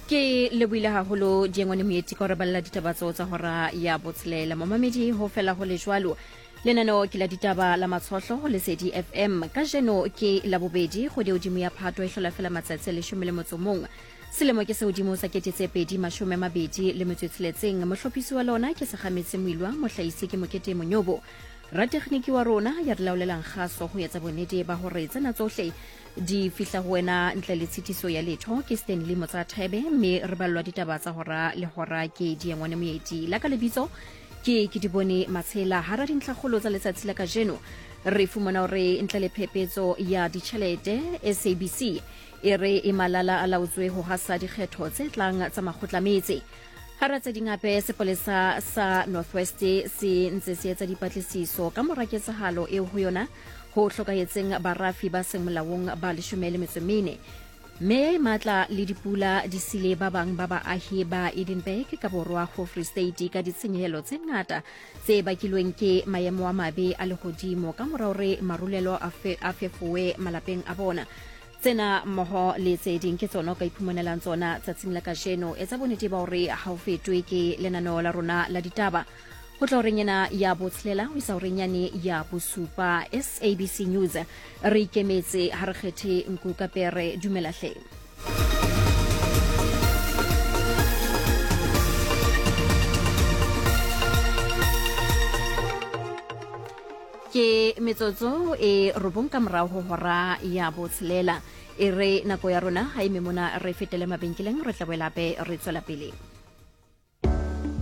Ke lebohile haholo Diengwane Moeti ka ho re balela ditaba tseo tsa hora ya botshelela. Momamedi ho fela ho le jwalo. Lenaneo ke la ditaba la Matshohlo ho Lesedi FM. Kajeno ke Labobedi, kgwedi ya hodimo ya Phato e hlola fela matsatsi a 11. Selemo ke se hodimo sa 2026. Mohlophisi wa lona ke Segametse Moilwa, mohlahisi ke Mokete Monyobo. Ratekgniki wa rona ya re laolelang kgaso ho etsa bonnete ba hore tsena tsohle di fihla ho wena ntle le tshitiso ya letho ke Stanley Motsathebe, mme re ballwa ditaba tsa hora le hora ke Diengwane Moeti. La ka lebitso ke ke di bone Matshela. Hara dintlhakgolo tsa letsatsi la kajeno re fumana hore ntle le phepetso ya ditjhelete, SABC e re e malala a laotswe ho hasa dikgetho tse tlang tsa makgotla metse. Hara tse ding hape, sepolesa sa Northwest se ntse se etsa dipatlisiso ka mora ketsahalo eo ho yona ho hlokahetseng barafi ba seng molaong ba 14. Meya e matla le dipula di sile ba bang ba baahi ba Edenburg ka borwa ho Free State ka ditshenyehelo tse ngata tse bakilweng ke maemo a mabe a lehodimo ka mora hore marulelo a fefowe malapeng a bona. Tsena mmoho le tse ding ke tsona o ka iphumanelang tsona tsatsing la kajeno. Etsa bonnete ba hore ha o fetwe ke lenaneo la rona la ditaba ho tla horeng ena ya botshelela ho isa horeng yane ya bosupa. SABC News, re ikemetse, ha re kgethe nku ka pere. Dumela hle. Ke metsotso e robong ka morago ho hora ya botshelela. E re nako ya rona ga e memona, re fetele mabenkeleng, re tla boela hape re tswela pele.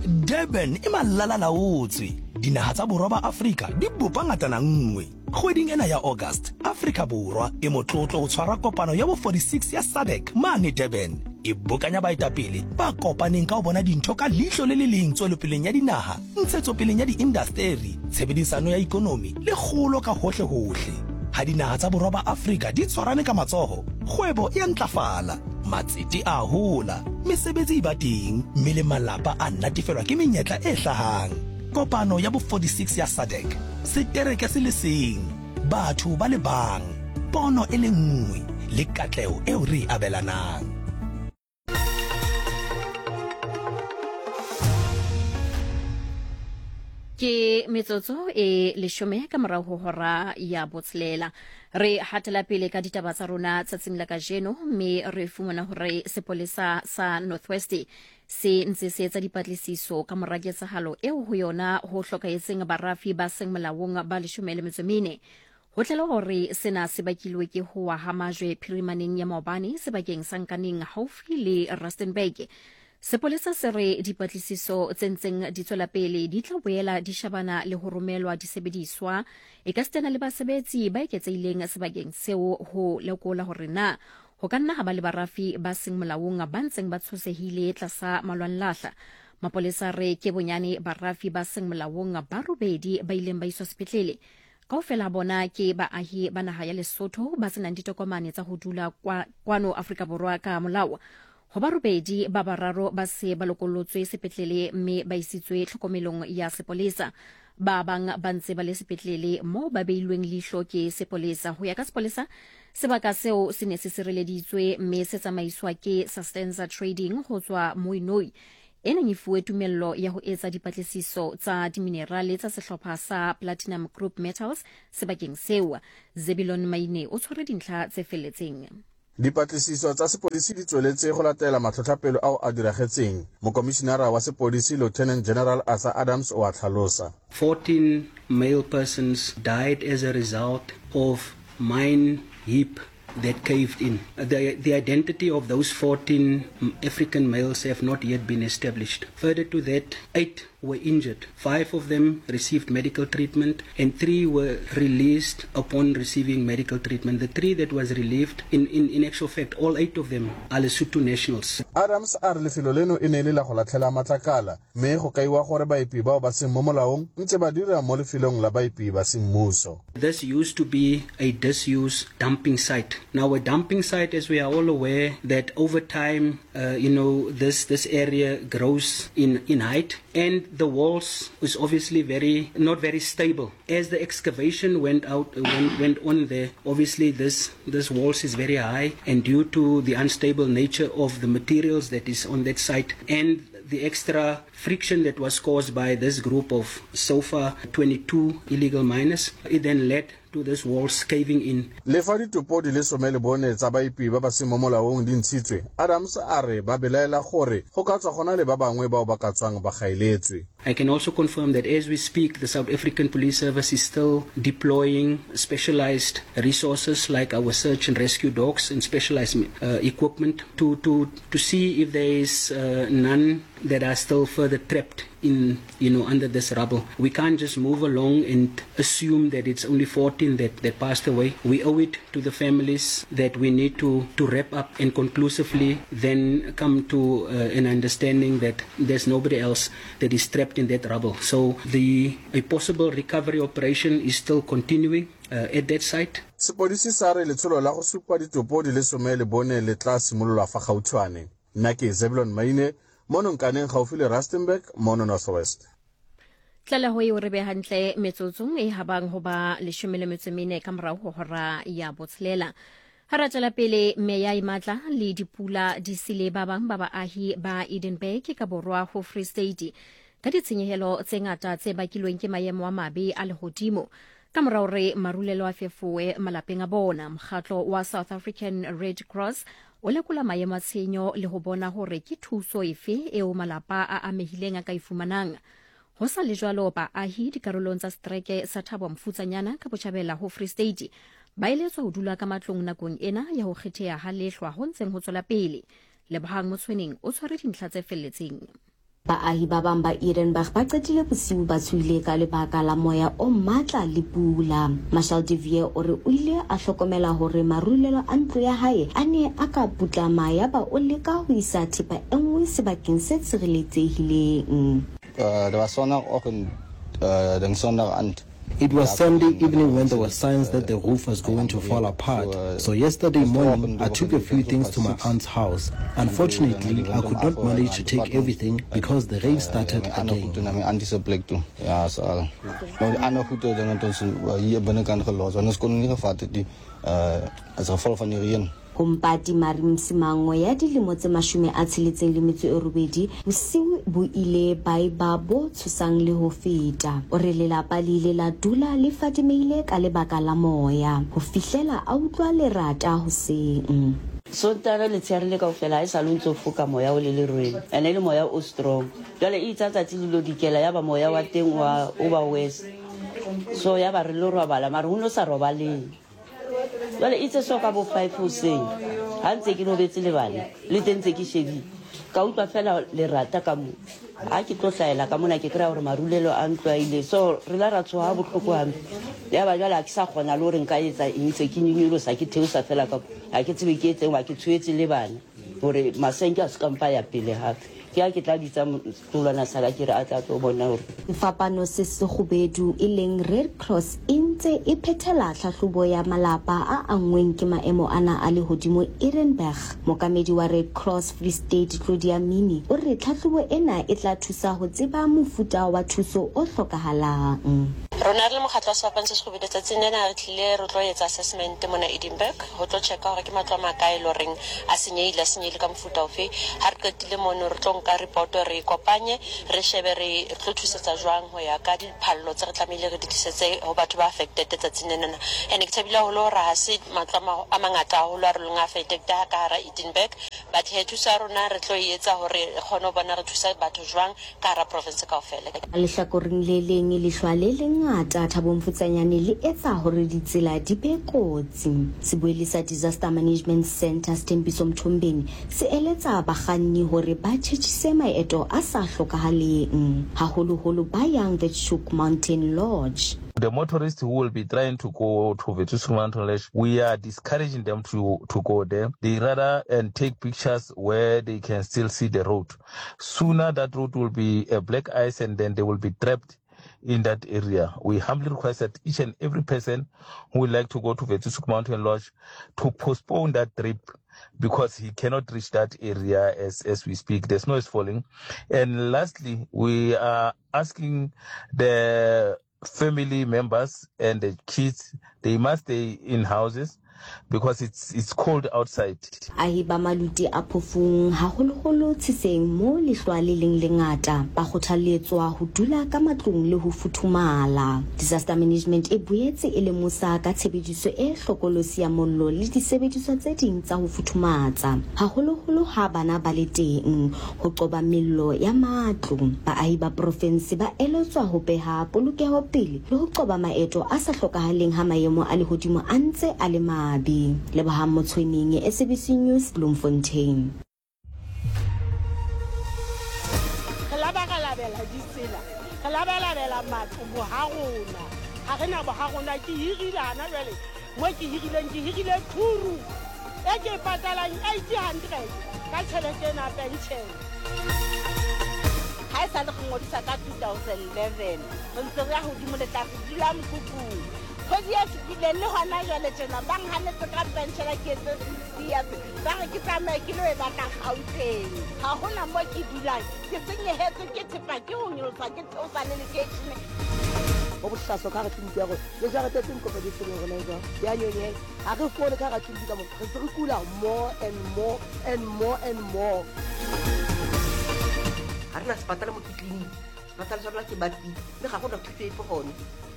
Durban e malalalaotswe. Dinaha tsa borwa ba Afrika di bopa ngatana nngwe. Kgweding ena ya August, Afrika Borwa e motlotlo ho tshwara kopano ya bo 46 ya SADC mane Durban. E bokanya baetapele ba kopaneng ka ho bona dintho ka leihlo le le leng tswelopeleng ya dinaha, ntshetsopeleng ya diindasteri, tshebedisano ya ikonomi le kgolo ka hohlehohle. Ha dinaha tsa borwa ba Afrika di tshwarane ka matsoho, kgwebo e a ntlafala, matsete a hola, mesebetsi e ba teng mme le malapa a natefelwa ke menyetla e hlahang. Kopano ya bo 46 ya SADC, setereke se le seng, batho ba le bang, pono e le nngwe le katleho eo re e abelanang. Ke metsotso e leshome ka morago ho hora ya botshelela. Re hatela pele ka ditaba tsa rona tsatsing la kajeno, mme re fumana hore sepolesa sa Northwest se ntse se etsa dipatlisiso ka mora ketsahalo eo ho yona ho hlokahetseng barafi ba seng molaong ba 14. Ho tlalewa hore sena se bakilwe ke ho wa ha majwe phirimaneng ya maobane sebakeng sa Nkaneng haufi le Rustenburg. Sepolesa se re dipatlisiso tse ntseng di tswela pele di tla boela di shabana le ho romelwa disebediswa ekasitana le basebetsi ba eketsehileng sebakeng seo ho lekola hore na ho ka nna ha ba le barafi ba seng molaong ba ntseng ba tshosehile tlasa malwanlahla. Mapolesa re ke bonyane barafi ba seng molaong ba robedi ba ileng ba iswa sepetlele. Kaofela ha bona ke baahi ba naha ya Lesotho ba se nang ditokomane tsa ho dula kwa, kwano Afrika Borwa ka molao. Ho ba robedi, ba bararo ba se ba lokolotswe sepetlele mme ba isitswe tlhokomelong ya sepolesa. Ba bang ba ntse ba le sepetlele moo ba beilweng leihlo ke sepolesa. Ho ya ka sepolesa, sebaka seo se ne se sireleditswe mme se tsamaiswa ke Sustenza Trading ho tswa Mooinooi, e neng e fuwe tumello ya ho etsa dipatlisiso tsa diminerale tsa sehlopha sa Platinum Group Metals sebakeng seo. Zebilon Maine o tshwere dintlha tse felletseng. Dipatlisiso tsa sepodisi di tsweletse go latela matlhotlhapelo ao a diragetseng, Mokomišinara wa sepodisi Lieutenant General Arthur Adams o a tlhalosa. 14 male persons died as a result of mine heap that caved in. The, the identity of those 14 African males have not yet been established. Further to that, eight were injured. Five of them received medical treatment and three were released upon receiving medical treatment. The three that was relieved, in, in, in actual fact, all eight of them are Lesotho nationals. Adams a re lefelo leno e ne e le la go latlhela matlakala mme go kaiwa gore baepi bao ba seng mo molaong ntse ba dira mo lefelong la baepi ba semmuso. This used to be a disused dumping site. Now, a dumping site, as we are all aware, that over time, you know, this area grows in height, and the walls is obviously not very stable. As the excavation went on there, obviously this walls is very high, and due to the unstable nature of the materials that is on that site and the extra friction that was caused by this group of so far 22 illegal miners, it then led to this walls caving in. Le fa ditopo di le 14 tsa baepi ba ba seng mo molaong di ntshitswe, Adams a re ba belaela gore go ka tswa go na le ba bangwe bao ba ka tswang ba gaeletswe. I can also confirm that as we speak, the South African Police Service is still deploying specialized resources like our search and rescue dogs and specialized equipment to see if there is none that are still further trapped in, you know, under this rubble. We can't just move along and assume that it's only 14 that passed away. We owe it to the families that we need to wrap up and conclusively then come to an understanding that there's nobody else that is trapped in that rubble. So a possible recovery operation is still continuing at that site. Sepodisi sa re letsholo la go supa ditopo di le 14 le tla simololwa fa gautshwane. Nna ke Zebulon Maine, mono Nkaneng gaufi le Rustenburg, mono North West. Tlaleho eo re be hantle metsotsong e habang ho ba 14 ka morao ho hora ya botshelela. Ha ra tswela pele, meya e matla le dipula di sile ba bang ba baahi ba Edenburg ka borwa ho Free State ka ditshenyehelo tse ngata tse bakilweng ke maemo a mabe a lehodimo. Ka morao re marulelo a fefoe malapeng a bona, mokgatlo wa South African Red Cross o lekola maemo a tshenyo le ho bona hore ke thuso efe eo malapa a amehileng a ka e fumanang. Ho sa le jwalo, baahi dikarolong tsa setereke sa Thabo Mofutsanyana ka botjhabela ho Free State ba eletswa ho dula ka matlong nakong ena ya ho kgetheha ha lehlwa ho ntseng ho tswela pele. Lebohang Motshweneng o tshwere dintlha tse felletseng. Baahi ba bang ba Edenburg ba qetile bosiu ba tshohile ka lebaka la moya o matla le pula. Marshal de Vier o re o ile a hlokomela hore marulelo a ntlo ya hae a ne a ka putlama yaba o leka ho isa thepa e nngwe sebakeng se tshireletsehileng. It was Sunday evening when there were signs that the roof was going to fall apart. So yesterday morning, I took a few things to my aunt's house. Unfortunately, I could not manage to take everything because the rain started again. Ho Mpati Mari Msimango ya dilemo tse 68, bosiu bo ile ba eba bo tshosang le ho feta. O re lelapa le ile la dula le fadimehile ka lebaka la moya ho fihlela a utlwa lerata hoseng. Sontaha letshehare le kaofela ha e sale o ntso foka moya o le lerweng, ene e le moya o strong. Jwale e itse ha tsatsi le lo dikela ya ba moya wa teng wa o ba worse. So ya ba re lo robala mara ho no sa robaleng. Jwale itse so ka bo 5 hoseng ha ntse ke robetse le bana le teng ntse ke shebile, ka utlwa fela lerata ka mo. Ha ke tlo hlahela ka mona ke kry-a hore marulelo a ntlo a ile. So re la ra tshoha bohloko hampe. Ya ba jwale ha ke sa kgona le hore nka etsa eng, se ke nyonyolosa ke theosa fela ka ha ke tsebe ke etseng, wa ke tshoetse le bana hore masenke a se ka mpa ya pele hape. Ke ha ke tla bitsa setolwana sa ka ke re a tla tlo bona hore Sefapano se sekgubedu e leng Red Cross e ntse e phethela tlhahlobo ya malapa a anngweng ke maemo ana a lehodimo Edenburg. Mookamedi wa Red Cross Free State Claudia Mini o re tlhahlobo ena e tla thusa ho tseba mofuta wa thuso o hlokahalang. Rona re le mokgatlo wa Sefapano se Sekgubedu tsatsing lena re tlile re tlo etsa assessment mona Edenburg ho tlo checka hore ke matlo a makae e le horeng a senyehile, a senyehile ka mofuta ofe. Ha re qetile mono re tlo nka report re e kopanye re shebe re tlo thusetsa jwang ho ya ka diphallo tse re tlamehile re di tlisetse ho batho ba affected tsatsing lenana. Ene ke thabile haholo hore ha se matlo a mangata haholo a re leng affected ka hara Edenburg, but he thuso ya rona re tlo e etsa hore re kgone ho bona re thusa batho jwang ka hara province kaofela. Ka lehlakoreng le leng, lehlwa le lengata Thabo Mofutsanyane le etsa hore ditsela di be kotsi. Sebuelli sa Disaster Management Centre Sthembiso Mthombeni se eletsa bakganni hore ba tjhetjhise maeto a sa hlokahaleng, haholoholo ba yang Withoek Mountain Lodge. The motorists who will be trying to go to Withoek Mountain Lodge, we are discouraging them to go there. They rather and take pictures where they can still see the road. Sooner that road will be a black ice and then they will be trapped in that area. We humbly request that each and every person who would like to go to Vetusuk Mountain Lodge to postpone that trip because he cannot reach that area as, as we speak. The snow is falling. And lastly, we are asking the family members and the kids, they must stay in houses because it's, it's cold outside. Ahi ba maluti a phofung, haholoholo tshiseng moo lehlwa le leng lengata, ba kgothaletswa ho dula ka matlong le ho futhumala. Disaster Management e boetse e lemosa ka tshebediso e hlokolosi ya mollo le disebediswa tse ding tsa ho futhumatsa, haholoholo ha bana ba le teng, ho qoba mello ya matlo. Baahi ba porofense ba eletswa ho beha polokeho pele le ho qoba maeto a sa hlokahaleng ha maemo a lehodimo a ntse a le mabe. Lebohang Motshweneng, SABC News, Bloemfontein. Re labalabela ditsela, re labalabela matlo boha rona. Ha re na boha rona, ke hirile hana jwale. Mo ke hirileng, ke hirile thuru e ke e patalang 800 ka tjhelete ena pension. Ha e sa le re ngodisa ka 2011, re ntse re ya hodimo le tlase, dula mokhukhung. Kgwedi e fetileng le hona jwale tjena ba nhanetse ka penshela ke etse 60 years, ba re ke tsamaye ke lo e batla Gauteng. Ha hona mo ke dulang, ke senyehetswe ke thepa ke ho nyolosa ke theosa le lekeishene. Ho bohlaswa ka hara tleliniki ya rona le jarete tse nkopa di tshwereng rona e jwang ya nyonyeha ha re fole ka hara tleliniki ka mona re ntse re kula more and more and more and more. Ha re na sepatala mo ke tleliniki, sepatala sa rona ke Batpili mme ga gona thuso epe gone.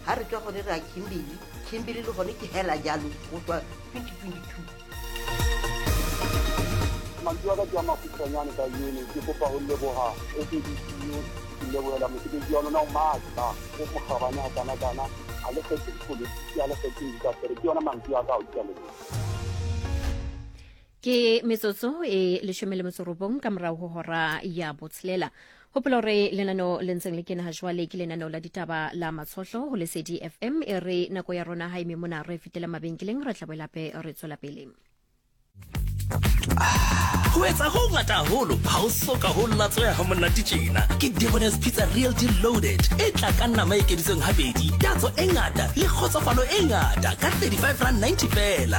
Ha re tswa gone re ya Kimberley, Kimberley le gone ke hela jalo go tswa 2022. Mantswe a ka ke a makgutshwanyane ka eno, ke kopa ho leboha SABC News, ke lebohela mosebetsi wa lona o matla, o mokgabane hakana-kana, ha le kgethe dipolotiki, ha le kgethe diindasteri. Ke yona mantswe a ka ao, ke a leboha. Ke metsotso e 19 ka morago ho hora ya botshelela. Hopola hore lenaneo le ntseng le kena ha jwale ke lenaneo la ditaba la Matshohlo ho Lesedi FM. E re nako ya rona ha eme mona, re fetela mabenkeleng, re tla boela hape re tswela pele. Ho etsa ho ngata haholo ha o soka ho latsweha ha monate tjena. Ke Debonair's Pizza Real Deal Loaded e tla ka nama e ekeditsweng habedi, tatso e ngata le kgotsofalo e ngata ka R35.90 feela.